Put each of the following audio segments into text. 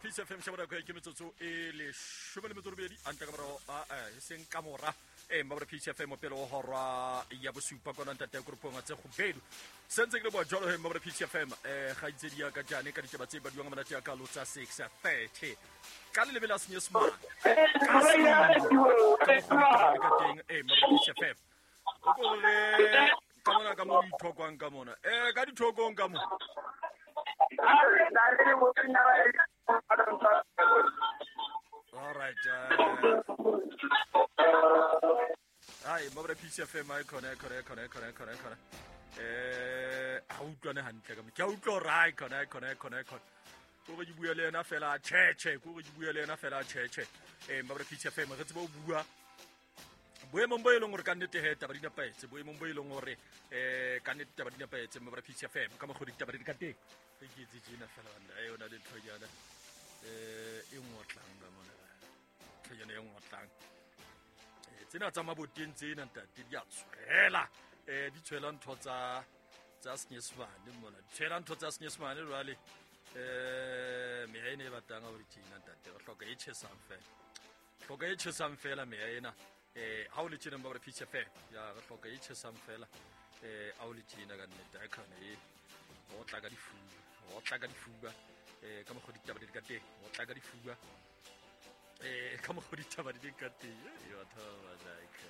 Peace FM sheba nako ke metsotso e 18 a ntle ka morago e seng ka mora e mabra Peace FM pele o horwa ya bosupa kona ntate ya koropong tse gobedu sentse ke le boa jalo he mabra Peace FM ga itse di ya ka jane ka ditaba tse badiwang monate ya ka lo tsa 6:30 ka le lebela senyesemane ka teng e mabra Peace FM o ko re ka mona ka mo ithokwang ka mona ka dithokong ka mo. All right. Hai, mabra Peace FM ai khona khona khona khona khona khona. Ha utlwane hantle ka mo. Ke a utlwa hore ai khona khona khona khona. Ko re ke bua le yena fela che che, ko re ke bua le yena fela che che. Mabra Peace FM re tsebe ho bua boemong bo e leng hore ka nnete he taba di nepahetse, boemong bo e leng hore ka nnete taba di nepahetse mabra Peace FM ka mokgwa ditaba di ka teng. Ke etse tjena fela banna, e yona le nthonyana e ngotlang ka mona. Nthonyana e ngotlang. Tsena tsa maboteng tsena ntate di a tshwela. Di tshwela ntho tsa senyesemane mona. Di tshwela ntho tsa senyesemane jwale. Meya ena e batang ha o di tjena ntate, re hloka e tjhesang fela. Hloka e tjhesang fela meya ena. Ha o le tjena ba re Peace FM. Ya re hloka e tjhesang fela. Ha o le tjena ka nnete ha khona e o tla ka difuba, o tla ka difuba ka mokgwa ditaba di ka teng, o tla ka difuba ka mokgwa ditaba di ka teng. E batho ba like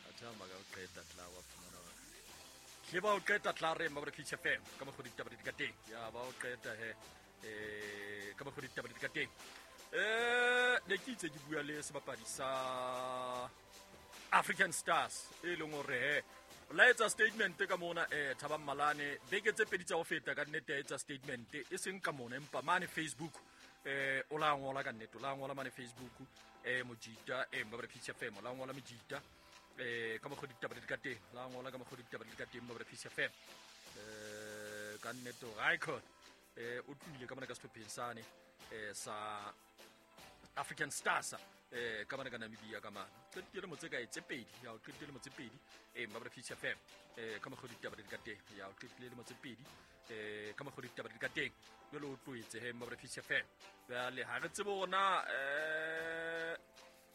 batho ba ka qeta tla wa fumana ke ba o qeta tla re ba re Peace FM ka mokgwa ditaba di ka teng. Ya ba o qeta he ka mokgwa ditaba di ka teng. Ne ke itse ke bua le sebapadi sa African Stars e leng hore he la etsa statement ka mona Thabang Malane beke tse pedi tsa ho feta ka nnete ya etsa statement e seng ka mona empa mane Facebook o la ngola ka nnete, o la ngola mane Facebook mojita ba re Peace FM la ngola mojita ka mokgwa ditaba di ka teng, la ngola ka mokgwa ditaba di ka teng ba re Peace FM ka nnete hore icon o tlohile ka mona ka sehlopheng sane sa African Stars ka mane ka Namibia ka mane. Qetile motse ka tse pedi, ya o qetile motse pedi ba re Peace FM ka mokgwa ditaba di ka teng, ya o qetile motse pedi ka mokgwa ditaba di ka teng. Jwale o tlohetse he ba re Peace FM. Jwale ha re tsebe hore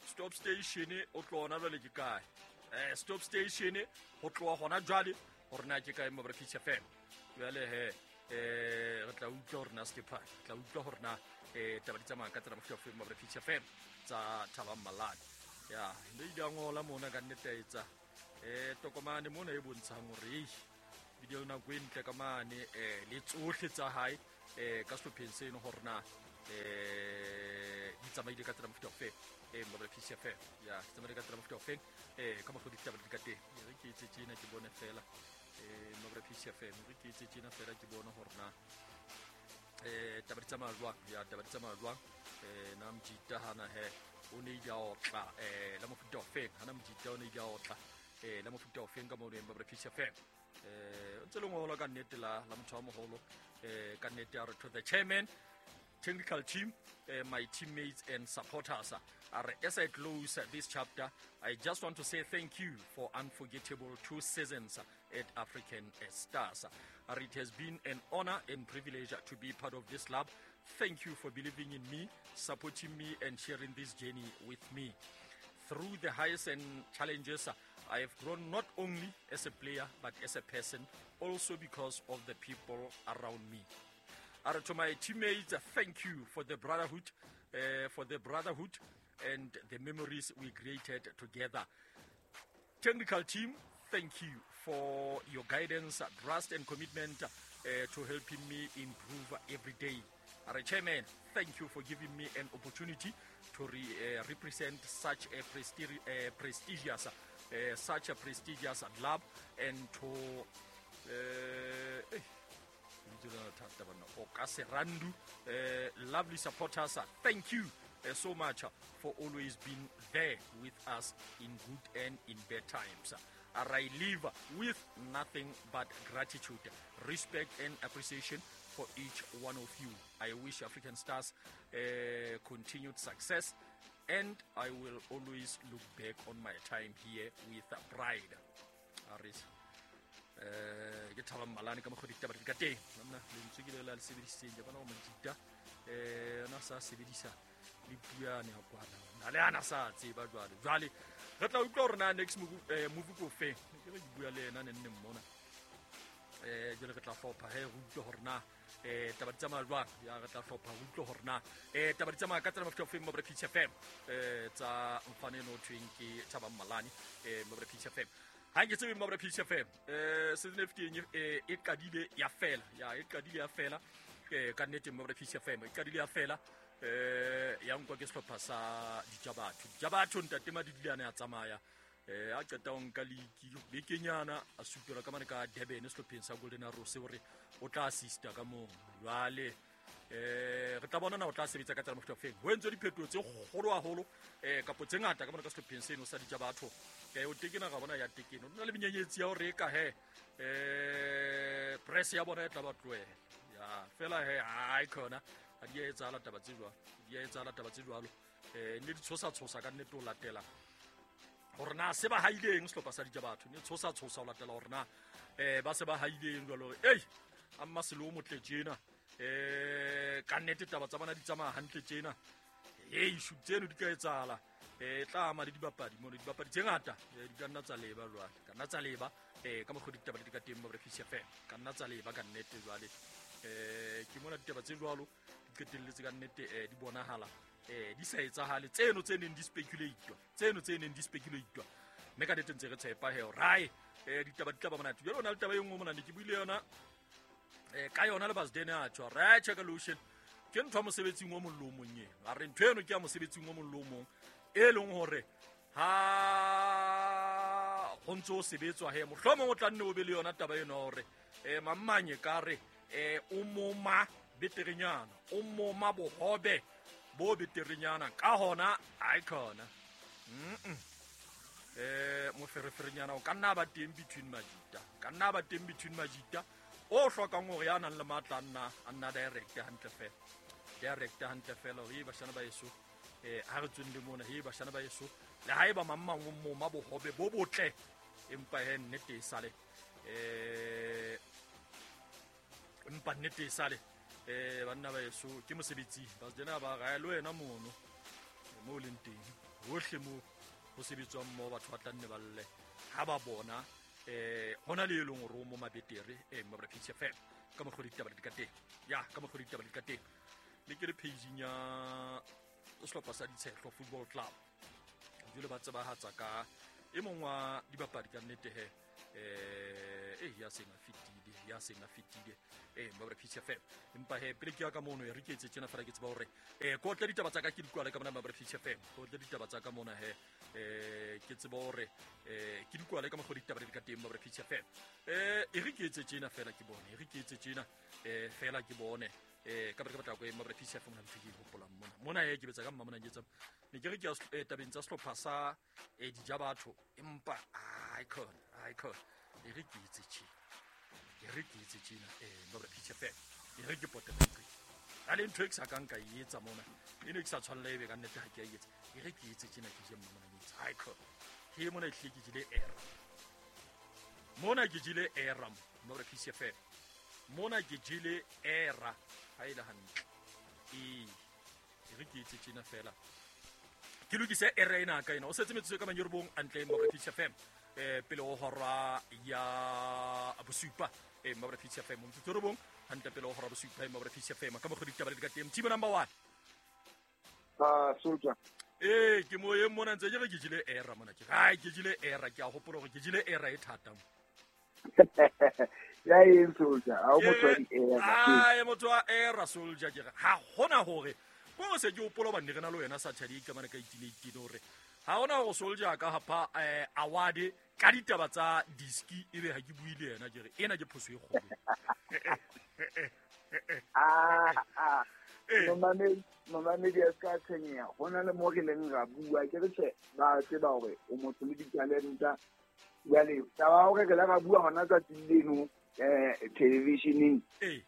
stop station o tlo ona jwale ke kae. Stop station ho tloha hona jwale hore na ke kae ba re Peace FM. Jwale he re tla utlwa hore na sekepa, tla utlwa hore na taba di tsamaya ka tsela mofuta ofe ba re Peace FM tsa Thabang Malane. Ya le ile a ngola mona ka nnete a etsa tokomane mona e bontshang hore video nako e ntle ka mane le tsohle tsa hae ka sehlopheng seno hore na di tsamaile ka tsela mofuta ofe ba re Peace FM. Ya di tsamaile ka tsela mofuta ofe ka mokgwa ditaba di ka teng. Re ke etse tjena ke bone fela ba re Peace FM, re ke etse tjena fela ke bone hore na taba di tsamaya jwang. Ya taba di tsamaya jwang. Na mojita hana he o ne ile a otla la mofuta ofeng, hana mojita o ne ile a otla la mofuta ofeng ka moo ba re Peace FM. O ntse le ngola ka nnete la motho wa moholo ka nnete a re to the chairman, technical team, my teammates and supporters. As I close this chapter, I just want to say thank you for unforgettable 2 seasons at African Stars. It has been an honor and privilege to be part of this club. Thank you for believing in me, supporting me, and sharing this journey with me. Through the highs and challenges, I have grown not only as a player, but as a person, also because of the people around me. To my teammates, thank you for the brotherhood, and the memories we created together. Technical team, thank you for your guidance, trust, and commitment to helping me improve every day. Chairman, thank you for giving me an opportunity to represent such a prestigious club and to Okaserandu, lovely supporters, thank you so much for always being there with us in good and in bad times. I live with nothing but gratitude, respect, and appreciation for each one of you. I wish African Stars continued success, and I will always look back on my time here with pride. Aris. Ke Thabang Malane ka mokgwa ditaba di ka teng. Nna lentswe ke le la le sebedisitseng, ke bona gore Majita ona sa sebedisa le puane ya kwana na le ana sa tseba. Jwale re tla utlwa hore na next move ko feng. Ke re ke bua le yena ne nne mmona, jwale re tla hlopha he re utlwe hore na taba di tsamaya jwang. Ya re tla hlopha re utlwe hore na taba di tsamaya ka tsela mofuta ofeng mo Peach FM, tsa mfane eno thweng ke Thabang Malane mo Peach FM. Ha ke tsebe mo Peach FM, season e fetileng e qadile ya fela, ya e qadile ya fela, ka nnete mo Peach FM e qadile ya fela, ya nkwa ke sehlopha sa Dijabatho. Dijabatho ntate Madidile a ne a tsamaya, a qeta ho nka league bekenyana, a supelwa ka mane ka Durban sehlopheng sa Golden Arrows hore o tla assista ka moo. Jwale re tla bona na o tla sebetsa ka tsela mofuta ofeng. Ho entswe diphetoho tse kgolo haholo, kapo tse ngata ka mona ka sehlopheng seno sa Dijabatho. O tekena ga bona ya tekeno, o na le menyenyetsi ya hore e ka he press ya bona e tla ba tlohela ya fela he. Ai khona ha di a etsahala taba tse jwalo, di a etsahala taba tse jwalo. Ne di tshosa tshosa ka nnete ho latela hore na se ba haileng sehlopha sa Dijabatho, ne tshosa tshosa ho latela hore na ba se ba haileng jwalo hore ei a mmaselo o motle tjena, ka nnete taba tsa bona di tsamaya hantle tjena. Ei shu tseno di ka etsahala, tla ama le dibapadi mono, dibapadi tse ngata di ka nna tsa leba jwale, ka nna tsa leba ka mokgwa ditaba di ka teng mo Peach FM, ka nna tsa leba ka nnete jwale. Ke mona ditaba tse jwalo di qetelletse ka nnete, di bonahala di sa etsahale tseno tse neng di speculate, tseno tse neng di speculate, mme ka nnete ntse re tshepa he rai ditaba di tla ba monate. Jwale o na le taba e nngwe mona ne ke buile yona ka yona le Basdene a tjho re check lotion ke ntho ya mosebetsing o mong le o mong eno. A re ntho eno ke ya mosebetsing o mong le o mong, e leng hore ha ho ntse o sebetswa he mohlomong o tla nne o be le yona taba eno hore mammanye ka re o moma beterenyana, o moma bohobe bo beterenyana ka hona ai khona mofereferenyana o ka nna ba teng between majita, ka nna ba teng between majita o hlokang hore ya nang le matla a nna direct hantle fela, direct hantle fela hore bashana ba eso ha re tsweng le mona, he bashana ba eso le ha eba mang mang o moma bohobe bo botle, empa he nnete e sale, empa nnete e sale banna ba eso ke mosebetsi ba tsena ba ga le wena mono mo leng teng hohle mo ho sebetswang mo batho ba tla nne ba lle ha ba bona hona le eleng hore o mo mabetere mo Peach FM ka mokgwa ditaba di ka teng, ya ka mokgwa ditaba di ka teng. Le ke le page ya sehlopha sa Ditshehlo Football Club jwale ba tsebahatsa ka e mong wa dibapadi ka nnete he ya seng a fetile, ya seng a fetile mo Peach FM. Empa he pele ke ya ka mono re ke etse tjena fela ke tseba hore ko tle ditaba tsa ka ke di kwale ka mona mo Peach FM, ko tle ditaba tsa ka mona he ke tseba hore ke di kwale ka mokgwa ditaba di ka teng mo Peach FM. E re ke etse tjena fela ke bone, e re ke etse tjena fela ke bone ka ba ke batla ko mo Peach FM mona ntho ke hopolang mona mona ke betsa ka mma mona ke tsa ne ke re ke tabeng tsa sehlopha sa Dijabatho, empa ai khona ai khona e re ke etse tjena, e re ke etse tjena mo Peach FM, e re ke potela ntho a le ntho e ke sa kang ka e etsa mona e ne ke sa tshwanela ebe ka nnete ha ke a etsa. E re ke etse tjena ke je mma mona ke etsa ai khona he mona e hlile ke jele era mona, ke jele era mo Peach FM mona, ke jele era ha e le hantle. E re ke etse tjena fela ke lokise era ena ka ena o setse metsotso ka manyorobong antle mo Peach FM pele ho hora ya bosupa mo Peach FM metsotso robong hantle pele ho hora bosupa mo Peach FM ka mokgwa ditaba di ka teng. Team number 1 soldier ke mo e mona ntse ke re ke jele era mona, ke ai ke jele era, ke a hopola hore ke jele era e thata mo. Ya eng soldier ha o motho wa di era? Ai motho wa era soldier ke re ha hona hore ko se ke hopola ba ne re na le wena Saturday ka mane ka 18 hore ha hona hore soldier ka hapa award ka ditaba tsa diski ebe ha ke bue le yena, ke re ena ke phoso e kgolo. Momamedi a ska tshwenyeha, ho na le mo re leng ra bua ke re tjhe ba tseba hore o motho le ditalenta. Jwale taba hore re la ra bua hona tsatsing leno televisioneng e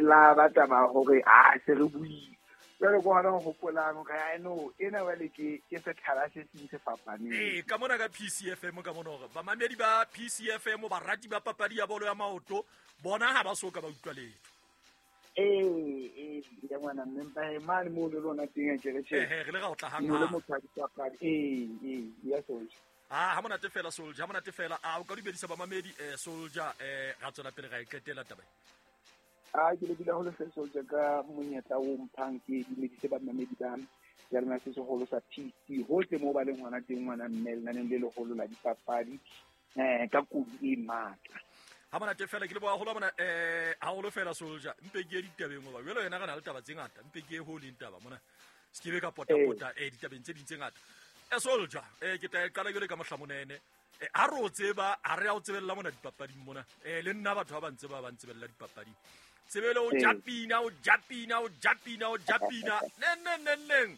la ba taba hore a se re buile. Jwale ko hona ho hopolang hore ai no ena jwale ke sethala se seng se fapaneng. Ee, ka mona ka PCFM ka mona hore bamamedi ba PCFM barati ba papadi ya bolo ya maoto bona ha ba so ka ba utlwa letho. Ee, ya ngwana mme mpa mane moo le lona teng a ke re tjhe. Ehe, re le ra o tla hang No le hang. motho wa dipapadi. Ee, ya Soldier. Ah, ha monate fela Soldier, ha monate fela. A o ka dumedisa bamamedi Soldier ra tswela pele ra e qetela taba. A ke lebile haholo hle Soldier ka monyetla o mphang ke dumedise bamamedi ba seyalemoya se seholo sa PC hohle moo ba leng hona teng ngwana mme lenaneng le leholo la dipapadi ka kodu e matla. Ha monate fela ke leboha haholo mona haholo fela Soldier. Mpe ke ye ditabeng hoba jwale wena re na le taba tse ngata. Mpe ke ye ho leng taba mona. Se ke be ka pota-pota ditabeng tse ding tse ngata. Soldier, ke tla e qala jwale ka mohlamonene. Ha re o tseba, ha re a o tsebella mona dipapading mona. Le nna batho ba ntse ba ba ntsebella dipapading. Tsebele o japina, o japina, o japina, o japina. Neng neng neng neng.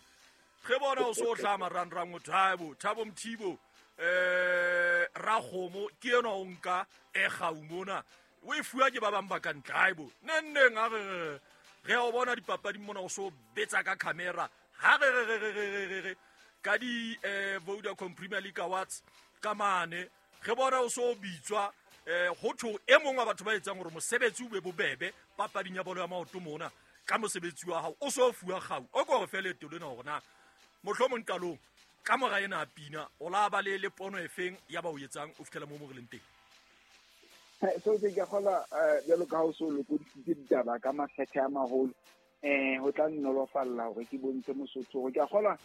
Re bona o so hlama rangrang o Thabo, Thabo Mothibo. Rakgomo ke enwa o nka gau mona. O e fuwa ke ba bang ba ka ntle. Haibo. Neng neng ha re re o bona dipapading mona o so betsa ka camera. Ha re re re re re re ka di Vodacom Premier League Awards ka mane re bona o so bitswa ho thwe e mong wa batho ba etsang hore mosebetsi o be bobebe papading ya bolo ya maoto mona ka mosebetsi wa hao o so fuwa kgau o ko re fe leeto lena hore na mohlomong qalong ka mora ena a pina o la ba le pono e feng ya ba o etsang o fihlela mo mo re leng teng. So ke ka kgola jwalo ka ha o so lokodisitse ditaba ka makgethe a maholo ho tla nnolofalla hore ke bontshe Mosotho hore ke a kgola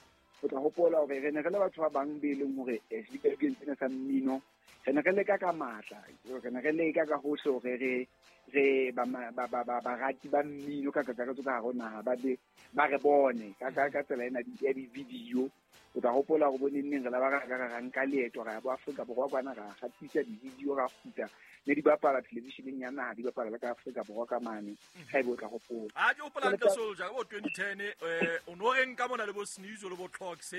o tla hopola hore re ne re le batho ba bang be leng hore sedikadikeng sena sa mmino re ne re leka ka matla, re ne re leka ka hohle hore re barati ba mmino ka kakaretso ka hare ho naha ba be ba re bone ka tsela ena ya di-video. O tla hopola hore bo neng neng re la ba ra ka ra nka leeto ra ya bo Afrika Borwa kwana ra hatisa di-video ra kgutla ne di bapala televisioneng ya naha di bapala le ka Afrika Borwa ka mane. Ha ebe o tla hopola. A ke hopola hantle Soldier ka bo 2010 o no reng ka mona le bo Sneezo le bo Clocks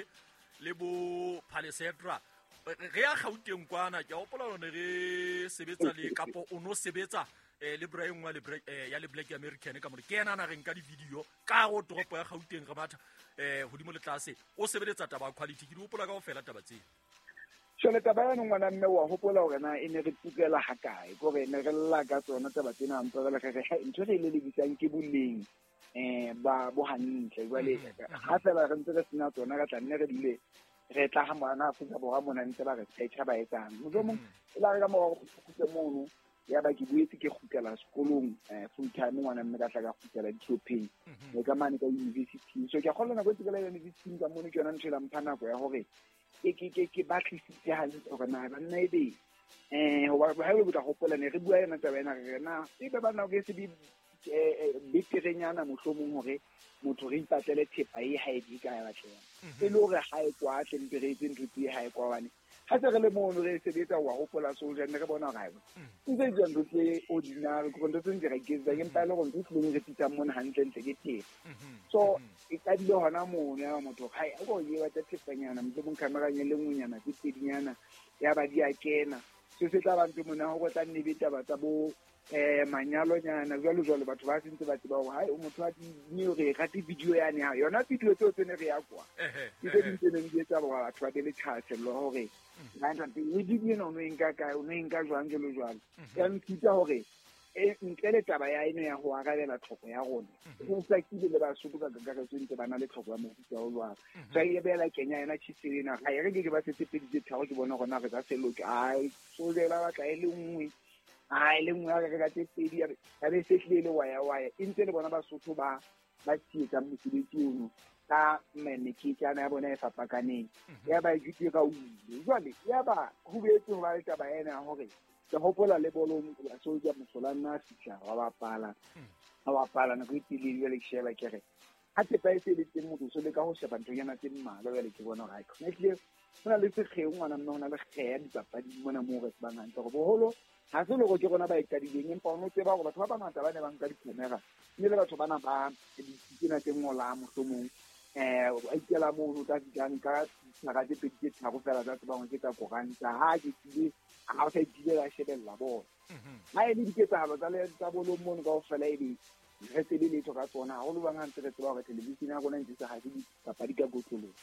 le bo Palesetra re ya Gauteng kwana ke hopola hore ne re sebetsa le kapo o no sebetsa le Brian wa le ya le Black American ka mona ke yena na re nka di-video ka go toropo ya Gauteng re batha hodimo le tlase o sebeletsa taba quality ke di hopola kaofela taba tseo. Jwale taba ya ngwana mme wa hopola hore na e ne re tukela ha kae kore ne re lla ka tsona taba tsena ntse re re re ntho re lelekisang ke boleng ba bo hantle jwale ha fela re ntse re sena tsona ka tla nne re dule re tla ha mona Afrika Borwa mona ntse ba re tshecha ba etsang mohlomong e la re ka mora go kgutla mono ya ba ke boetse ke kgutlela sekolong full time ngwana mme ka tla ka kgutlela ditlhopheng le ka mane ka university. So ke a kgolwa nako e tsekela university ka mono ke yona ntho e la mpha nako ya hore ke batlisitse hantle hore na banna e be hoba ha o tla hopola ne re bua yona taba ena re na e be ba nako e se beterenyana mohlomong hore motho re ipatlele thepa e ha e di ka ya batleha e le hore ha e kwa tle mpe re etse ntho tse ha e kwa hobane ha se re le mono re sebetsa wa hopola Soldier ne re bona hore ha e ntse jwang ntho tse ordinary ke ntho tse ntse re iketsa ke mpa e le hore ntho e tlileng re fihlang mona hantlentle ke thepa. So e qadile hona mono ya motho ha e o ye batla thepanyana mohlomong camera e le nngwenyana tse pedinyana ya ba di a kena se se tla ba ntho mona ho tla nne be taba tsa bo manyalonyana jwalo jwalo batho ba sentse ba tseba hore hai o motho wa di re rate video yane ha yona video tseo tse ne re ya kwa ke tse ding tse neng di etsa hore batho ba be le thahasello hore le video ena o no e nka kae o no e nka jwang jwalo jwalo. Ya nthuta hore ntle le taba ya eno ya ho arabela tlhoko ya rona ho hlakile le Basotho ka kakaretso ntse ba na le tlhoko ya mofuta o jwalo. So e beela Kenya yona tjhese ena ha e re ke ba setse pedi tse tharo ke bona hore na re ka se loke ai so jela batla e le nngwe a e le nngwe ya re ka tse pedi ya be se tlile le waya waya e ntse le bona Basotho ba tsietsang mosebetsi ono ka meketjana ya bona e fapakaneng ya ba e ka uile jwale ya ba ho boetse ho ba le taba ena ya hore ke hopola le bolong ya Soldier mosola nna fihla wa bapala a bapala nako e telele jwale ke sheba ke re ha thepa e se le teng motho so le ka ho sheba nthonyana tse mmalwa jwale ke bona hore ha e tlile ho na le sekgeo ngwana mme ho na le kgeya dipapading mona moo re tsebang hantle hore boholo ha se le hore ke rona ba e qadileng empa o no tseba hore batho ba bangata ba ne ba nka di-camera mme le batho bana ba ditsena tse ngolang mohlomong a ikela mono o tla fihla nka dithaka tse pedi tse tharo fela tsa tsebang ke tsa koranta ha ke tsile ha o sa itile ba shebella bona. Ha e le diketsahalo tsa bolong mono kaofela ebe re tsebe letho ka tsona haholo bang ha ntse re tseba hore television ya rona ntse sa hase dipapadi ka kotloloho.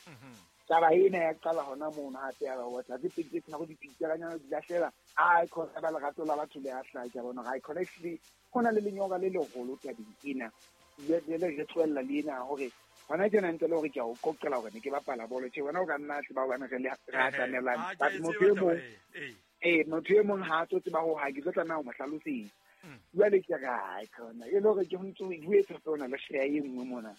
Taba ena ya qala hona mono hape ya ba tla tse pedi tse tharo dipitsa di lahlela a khona ba lerato la batho le a hlaha ke bona ga khona ehlile ho na le lenyora le leholo tabeng ena le re tlohella le ena hore hona tjena ntse le hore ke a o qoqela hore ne ke bapala bolo tjhe wena o ka nna tseba hobane re le re atamelane but motho e mong ha a tlo tseba ho ha ke tlo tlameha ho mo hlalosetsa. Jwale ke re ai khona e le hore ke ntse o buetse tsona le share e nngwe mona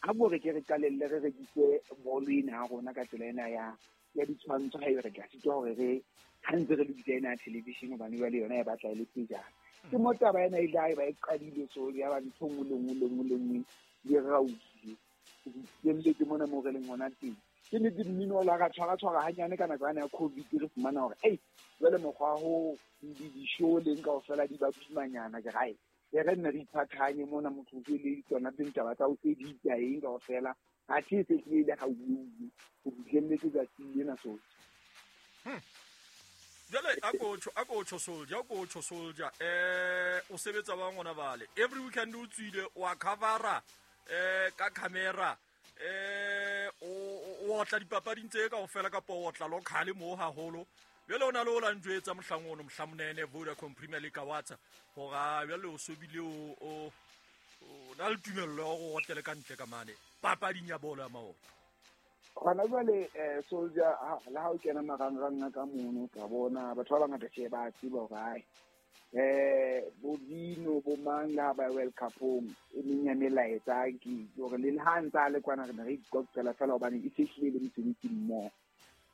ha bo re ke re qalelle re rekise bolo ena ya rona ka tsela ena ya ditshwantsho ha e re ka sitwa hore re ha ntse re lokisa ena ya television hobane jwale yona e batla e le pejana. Ke mo taba ena ile ha e ba e qadile so ya ba ntho nngwe le nngwe le nngwe le nngwe di rausile ke mona mo re leng hona teng. Ke nnete mmino o la ra tshwara hanyane ka nako yane ya COVID re fumana hore ei jwale mokgwa ho di-show leng kaofela di ba boimanyana ke rae e re nne re iphathanye mona motho o le tsona tse ntaba tsa o edita eng kaofela athe e se tlile ga uwe o fihlelletse tsatsi lena so. Jwale a ko soldier o sebetsa ba ngwana bale every weekend o tswile wa covera ka camera o otla dipapading tse kaofela kapa o otla local mo haholo. Jwale o na le o la njwetsa mohlang ono mohlamonene Vodacom Premier League Awards hore jwale o sobile o na le tumello ya hore o otlele ka ntle ka mane papading ya bolo ya maoto. Hona jwale soldier le ha o kena marangrang a ka mono ka bona batho ba bangata tjhe ba tseba hore ai bo Dino bo mang le ha ba World Cup-ong e meng ya melaetsa ke hore le ha ntse a le kwana re ne re iqoqela fela hobane e sehlile le mosebetsi mmoho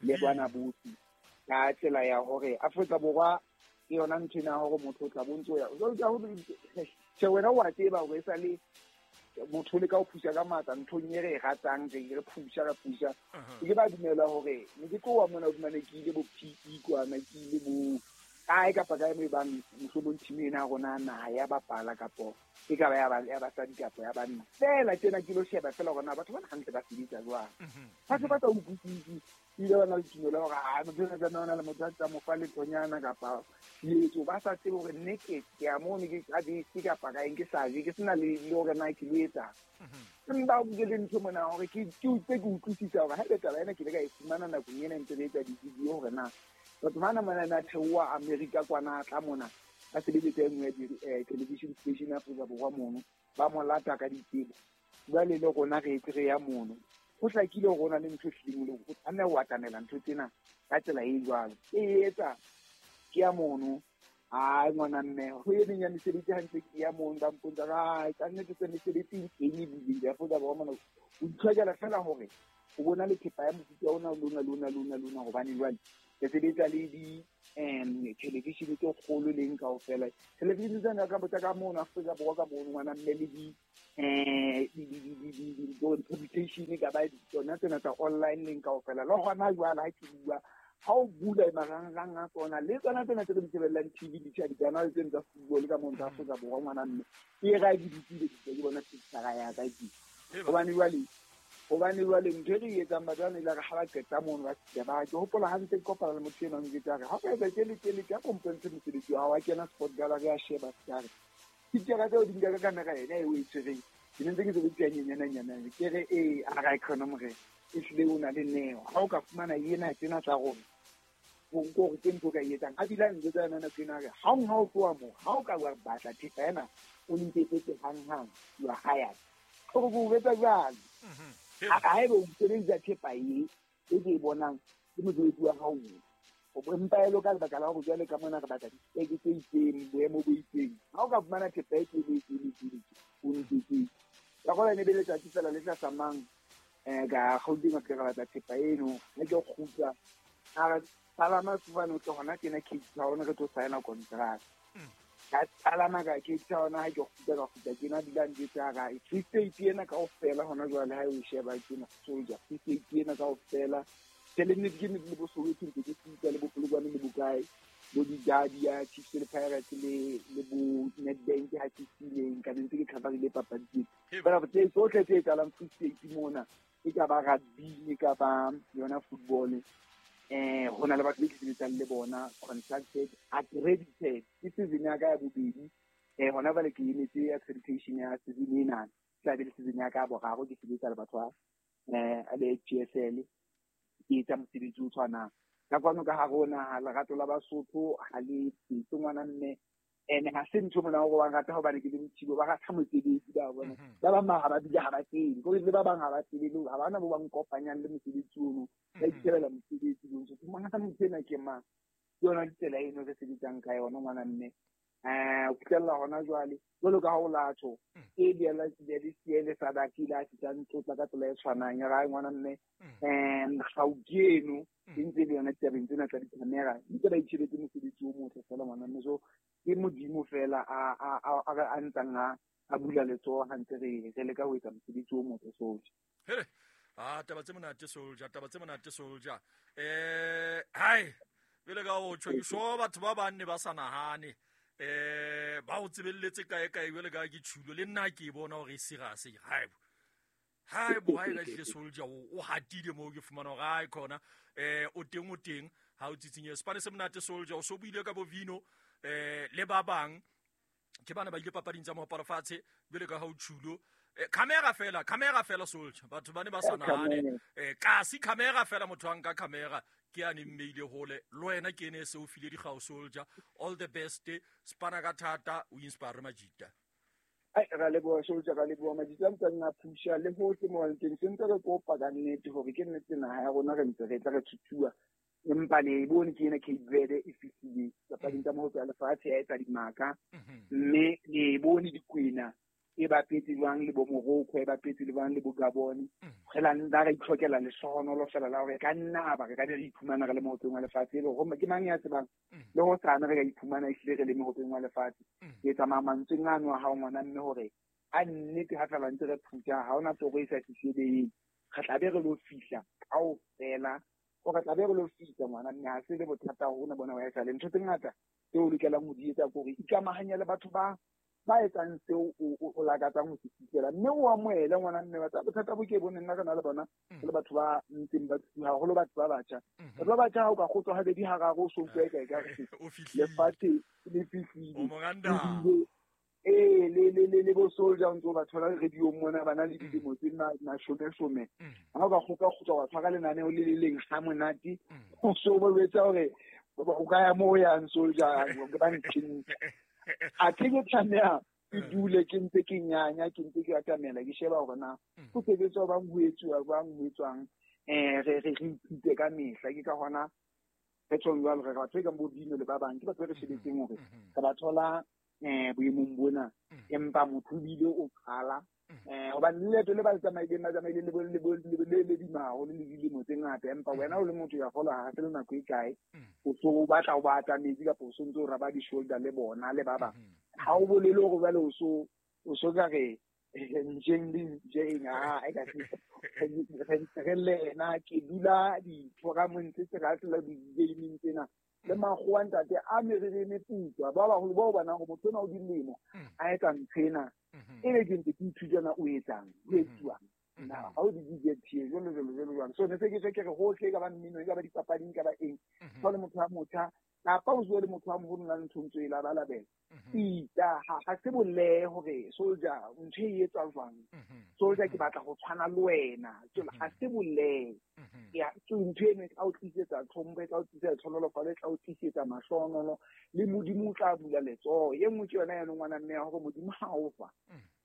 le bana bohle ka tsela ya hore Afrika Borwa ke yona ntho ena hore motho o tla bontso ya tjhe wena wa tseba hore e sa le motho le ka o phusa ka matla nthong e re e ratang re phusa ra phusa ke ba dumela hore ne ke tloha mona o fumane ke ile bo PE kwana ke ile bo kae kapa kae mo e bang mohlomong team ena ya rona naha ya bapala kapo e ka ba ya basadi kapa ya banna fela tjena ke lo sheba fela hore na batho bana hantle ba sebetsa jwang. Batho ba sa utlwisise ile ba na le tumelo hore ha motho a tsamaya ona le motho a tsa mo fa lethonyana kapa etso ba sa tsebe hore nne ke ya mono ke ka bese kapa kae ke sa je ke sena le hore na ke lo etsang. Empa ke le ntho mona hore ke utlwe ke utlwisisa hore haebe taba ena ke ile ka e fumana nakong ena ntse re etsa di-video hore na batho bana mona na theoha Amerika kwana tla mona ba sebeletsa e nngwe ya television station ya Afrika Borwa mono ba mo lata ka ditsebo jwale le rona re etse re ya mono ho hlakile hore o na le ntho e hlileng le o tshwanela ho atamela ntho tsena ka tsela e jwalo e etsa ke ya mono ai ngwana mme ho e meng ya mesebetsi hantle ke ya mono ba mpontsha ai ka nnete tse mesebetsi e teng ebile ya Afrika Borwa mona o itlhokela fela hore o bona le thepa ya mofuta ona lona hobane jwale ke sebetsa le di television tse kgolo leng kaofela television tsena ka botsa ka mono Afrika Borwa ka mono ngwana mme le di di publication ka ba tsona tsena tsa online leng kaofela le hona jwale ha ke bua ha o bula marangrang a tsona le tsona tsena tse re di shebellang TV di-channel tsena tsa football ka mono tsa Afrika Borwa ngwana mme ke ra ke ditsile ke bona picture ya ka ke hobane jwale ntho e re etsang batho bana ile re ha ba qeta mono ba fihla ba ke hopola ha ntse ke kopana le motho enwa ntse a re ha o ka etsa tjele tje a kompontshe mosebetsi wa hao wa kena sport gallery a sheba sekare picture tseo di nka ka camera ena e o e tshwereng ke ne ntse ke sebedisa nyenyana ke re ee a ra khona morena ehlile o na le neo ha o ka fumana ena tsena tsa rona o nko hore ke ntho o ka e etsang a bile a njwetsa yona nako ena a re ha o tloha moo ha o ka wa batla thepa ena o nketsetse hanghang you are hired hore ke o betsa jwalo haebe o sebedisa thepa e ke e bonang ke mosebetsi wa hao empa e lo ka lebaka la hore jwale ka mona re batla dipeke tse itseng boemo bo itseng ha o ka fumana thepa e tele o nketsetse ka gola ne be letsatsi fela le tla ka Gauteng ke re batla thepa eno ha ke kgutla a re palama sefofane o tle hona tjena Cape Town re tlo signa contract ka palama ka Cape Town ha ke kgutla ka kgutla tjena dula njwetsa ra Free State ena kaofela hona jwale ha o sheba tjena soldier Free State ena kaofela tjhe le ke ne le bo Soweto ntse ke fihla le bo Polokwane le bokae bo di-Derby ya Chiefs le Pirates le bo Nedbank ha ke sileng ka ntse ke coverile papadi tsena fela tse tsohle tse etsahalang Free State mona e ka ba rugby e ka ba yona football ho na le batho be ke sebetsang le bona contracted accredited ke season ya ka ya bobedi Hona jwale ke emetse accreditation ya season ena, tla be le season ya ka boraro ke sebetsa le batho ba le PSL, ke etsa mosebetsi o tshwanang. Ka kwano ka hare ho naha lerato la Basotho ha le tsetse ngwana mme, ene ha se ntho mona hore ba rata hobane ke le Mothibo, ba rata mosebetsi ba bona. Ba bang ha ba bile ha ba tsebe, kore le ba bang ha ba tsebe le ha bana bo ba nkopanyang le mosebetsi ono, ba itshebela mosebetsi bo ntso. Mongata motho ena ke mang? Ke yona tsela eno re sebetsang ka yona ngwana mme. Ho fihlella hona jwale, jwalo ka ha o latho, e le le Sadaki la fihlang tlotla ka tsela e tshwanang ya ra ngwana mme. Gauke eno e ntse le yona ditabeng tsena tsa di-camera, ntse ba itshebetse mosebetsi o motle fela ngwana mme. So ke Modimo fela a ntsang a bula letsoho ha ntse re leka ho etsa mosebetsi o motle sohle. Hele, taba tse monate soldier, taba tse monate soldier. Hai, pele ka ho tjho ke sho batho ba bang ne ba sa nahane. Ba o tsebelletse kae kae jwale ka ke tjhulo le nna ke bona hore e serious. Hai bo. Hai bo, hai ka tle soldier o hatile moo ke fumana hore hai khona. O teng ha o tsitsinye. Sepane se monate soldier, o so buile ka bo Vino le ba bang ke bana ba ile papading tsa moaparo fatshe jwale ka ha o tjhulo. Camera fela soldier, batho ba ne ba sa nahane. Kasi camera fela, motho a nka camera ke a ne mmeile hole le wena ke ene se o file dikgao soldier. All the best, spana ka thata, o inspire majita. Ai, ra leboha soldier, ra leboha majita a ntseng a phusha le hohle mo teng. Se ntse re kopa ka nnete hore ke nnete naha ya rona re ntse re tla re thuthuwa, empa le bone ke ena Cape Verde e fihlile papading tsa mohope ya lefatshe ya etsa dimaka, mme le bone dikwena e bapetse jwang le bo Morocco, e bapetse le jwang le bo Gabon. Re la nna ra itlhokela lehlohonolo fela la hore ka nna ba re ka be re iphumana re le mohopeng wa lefatshe. E le hore ke mang ya tsebang le ho sane re ka iphumana ehlile re le mohopeng wa lefatshe. Ke tsamaya mantsweng ano a hao ngwana mme hore a nnete ha fela ntse re phutha, ha hona toro e sa fihleleng, re tla be re lo fihla kaofela. O re tla be re lo fihla ngwana mme, ha se le bothata hona bona wa esale. Ntho tse ngata tseo o lokelang ho di etsa ke hore ikamahanye le batho ba etsang seo o lakatsang ho se fihlela, mme o amohele ngwana mme. Bothata bo ke bone nna re na le bona le batho ba ntseng ba tsuha, haholo batho ba batjha. Batho ba batjha ha o ka kgotswa habedi hararo o so utlwa eka ekare lefatshe le fihlile. Le bo soldier o ntso ba thola radio mona ba na le dilemo tse mashome-shome. Ha o ka kgotsa wa tshwara lenaneo le le leng ha monate, o so ba etsa hore o ka ya moo yang soldier ba ntsheng. A ke tlameha ke dule ke ntse ke nyanya, ke ntse ke atamela, ke sheba hore na ho sebetswa bang ho etsuwa jwang, ho etswang. Re ithute ka mehla. Ke ka hona re tjhong jwalo, re batho e kang bo Vino le ba bang ke batho ba re shebetseng hore re ba thola boemong bona, empa motho o bile o qala. Hobane leeto le ba le tsamaileng, ba tsamaile le le dima haholo le dilemo tse ngata, empa wena o le motho ya kgolwa ha se le nako e kae o so o batla o ba atametse kapa o so ntse o raba di-shoulder le bona le ba bang. Ha o bolele hore jwale o so ka re njeng le njeng, ha e ka re lena ke dula di-foramong tse tse di-gaming tsena le makgowa ntate a meriri e meputswa, ba baholo bao bonang hore motho ona o dilemo a etsa ntho ena, ebe ke ntse ke ithuta na o etsang, ho etsuwang na ha o di DJT jwalo jwalo jwalo jwalo. So ne se ke tjho ke re hohle, e ka ba mmino, e ka ba dipapading, e ka ba eng, so le motho a motjha kapa o bue le motho a moholo na le ntho ntso e labalabela. Ita ha se bolehe hore soldier ntho e etswa jwang, soldier ke batla ho tshwana le wena, ha se bolehe. Ya ntho eno e tla o tlisetsa tlhompho, e tla o tlisetsa tlhonolofalo, e tla o tlisetsa mahlohonolo, le Modimo o tla bula letsoho. E nngwe ke yona ya ngwana mme ya hore Modimo ha o fa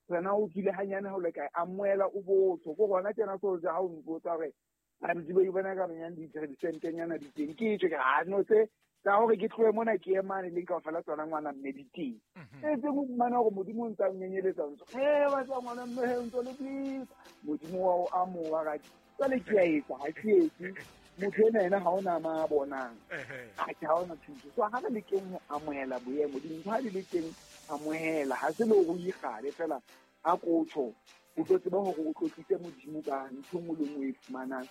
wena o tswile hanyane ha o le kae, amohela o botho. Ko hona tjena soldier ha o mpotsa hore a ntse ba bona ka banyane di-sentenyana di teng, ke tjho ke ha no tse tsa hore ke tlohe mona ke emane le kaofela tsona ngwana mme di teng. E tse mo fumana hore Modimo o ntse a nyenyeletsa ntso. Ba tsa ngwana mme ntso le please. Modimo wa o amoha ka jwale ke a etsa, ha ke etse. Motho ena ena ha ona ma bonang. Ha ke ha ona thuso. So ha re lekeng ho amohela boemo, dintho ha di le teng amohela, ha se le hore o ikgale fela a kotjho. O tlo tseba hore o tlotlise Modimo ka ntho e nngwe le nngwe e fumanang,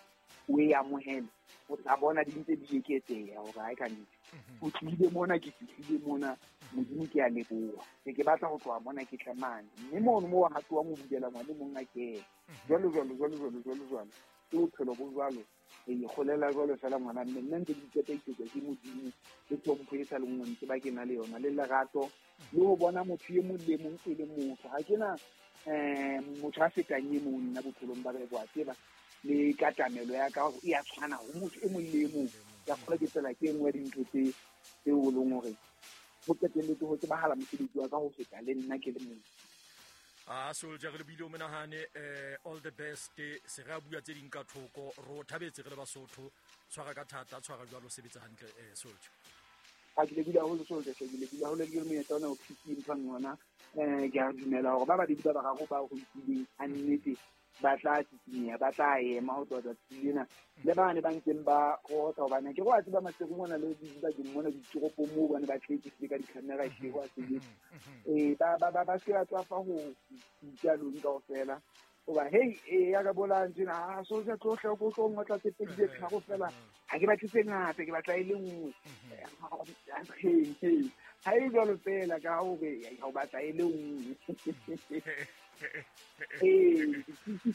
o e amohele. O tla bona di ntse di eketseha hore ha e ka nnete. O tlile mona, ke fihlile mona, Modimo ke a leboha. Ke batla ho tloha mona ke tle mane. Mme mono moo ha tloha mo bulela ngwane mong a kene. Jwalo jwalo jwalo jwalo jwalo jwalo. Ke bophelo bo jwalo. Re ikgolela jwalo fela ngwana mme. Nna ntse ke iqetaisetsa ke Modimo le tlhompho e sa le nngwe ntse ba ke na le yona, le lerato Le ho bona motho e mong le mong e le motho. Ha ke na motho a fetang e mong nna bophelong ba ka, wa tseba. Le katamelo ya ka e a tshwana ho motho e mong le e mong. Ke a kgolwa ke tsela ke e nngwe ya dintho tse tseo e leng hore ho qetelletse ho tsebahala mosebetsi wa ka ho feta le nna ke le mong. A Soldier, re lebile o menahane, all the best. Se re a bua tse ding ka thoko, ro thabetse re le Basotho. Tshwara ka thata, tshwara jwalo, sebetsa hantle, Soldier. Ha ke lebile haholo, Soldier, ke lebile haholo le monyetla ona o phisi mphang yona. Ke a dumela hore ba babedi ba bararo ba ho itileng a nnete ba tla tsitsinya, ba tla ema ho tloha tsatsi lena. Le bane ba ntseng ba rota, hobane ke go a tseba Maseru mona le dibakeng mona ditoropong moo bane ba tletse ka di-camera hle ho a sebetsa. Ba se ba tswafa ho itja lone kaofela. Hoba hey, ya ka bola ntsena, ha Soldier tlo hle ko tlo ngotla tse pedi tse tharo fela. Ha ke batle tse ngata, ke batla e le nngwe. Ha e jwalo fela ka hore ha o batla e le nngwe.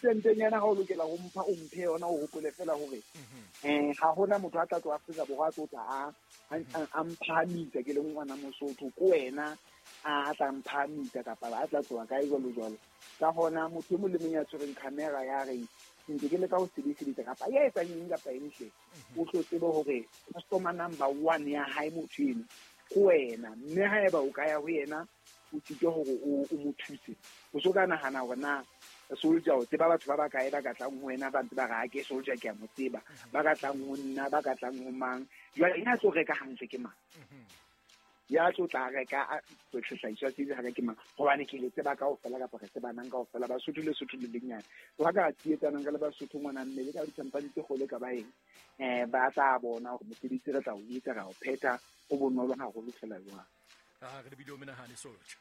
Sentenyana ha o lokela ho mpha, o mphe yona, o hopole fela hore ha hona motho a tla tloha Afrika Borwa a tlo tla a mphahamisa ke le ngwana Mosotho, ko wena a tla mphahamisa kapa a tla tloha kae jwalo jwalo. Ka hona motho e mong le mong ya tshwereng camera ya reng ntse ke leka ho sebedisa kapa ya etsang eng kapa eng hle, o tlo tsebe hore customer number 1 ya hae motho eno ko wena, mme haeba o ka ya ho yena o tsike hore o mo thuse, o so ka nahana hore na Soldier o tseba batho ba bakae ba ka tlang ho wena ba ntse ba re ha ke Soldier ke a mo tseba, ba ka tlang ho nna, ba ka tlang ho mang. Jwale ena tlo reka hantle ke mang, ya tlo tla reka sehlahiswa se ha ke mang, hobane ke le tseba kaofela kapa re tsebanang kaofela. Basotho le Sotho le lenyane so ha ka tsietsanang ka le Basotho ngwana mme le ka di-company tse kgolo ka ba eng, ba tla bona hore mosebetsi re tla o etsa, ra o phetha, o bonolo haholo fela jwang. Re lebile o menahane, Soldier.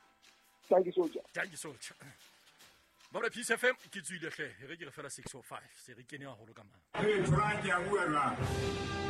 Thank you, Soldier. Thank you, Soldier. Ba Peace FM ke tswile hle, re ke re fela 6:05 se re kene haholo ka mang. Hey, Frank, ya bua jwang?